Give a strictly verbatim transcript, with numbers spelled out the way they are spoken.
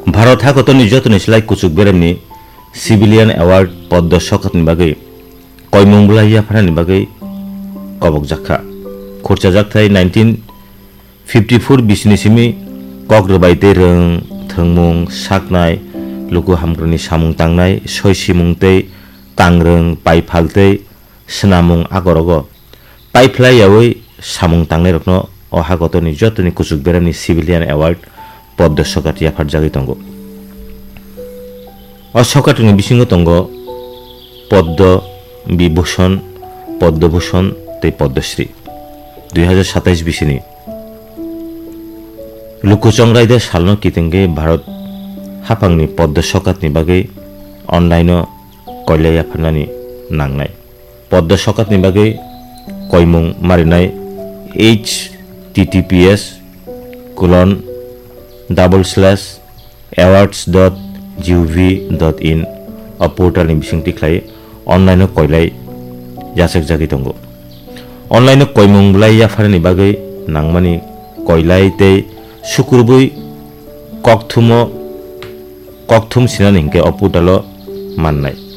Bharat hakotorni jotoni slai kuchuk beremni Civilian Award Poddo Sokatni bagwi koimung bwlai yapharnani bagwi kobokjakha. Khurchajakthai nineteen fifty four bisini simi kok rwbai tei rwng, thwngmung, saknai, luku hamkrani samung tangnai, soisimung tei tangrwng, paiphal tei swnamung agorogo paiphlai yaui samung tangnairokno o hakotorni jotoni kuchuk beremni Civilian Award Poddo Sokat yapharjagwi tongo. O sokatni bisingo tongo Poddo Bibhushon, Poddo Bhushon tei Poddo Shri. Dui hazar satais bisini Luku Chongraida salno kitengwi Bharat haphangni Poddo Sokatni bagwi online-o koilai yapharnani nangnai. Poddo Sokatni bagwi koimung marinai H T T P S colon double slash awards dot G O V dot in o portalni bisingtwi khlai online-o koilai yachakjagwi tongo. Online-o koimung bwlai yapharnani bagwi nangmani koilai tei sukrubwi kokthumo, kokthum sinani hinkhe o portalo mannai.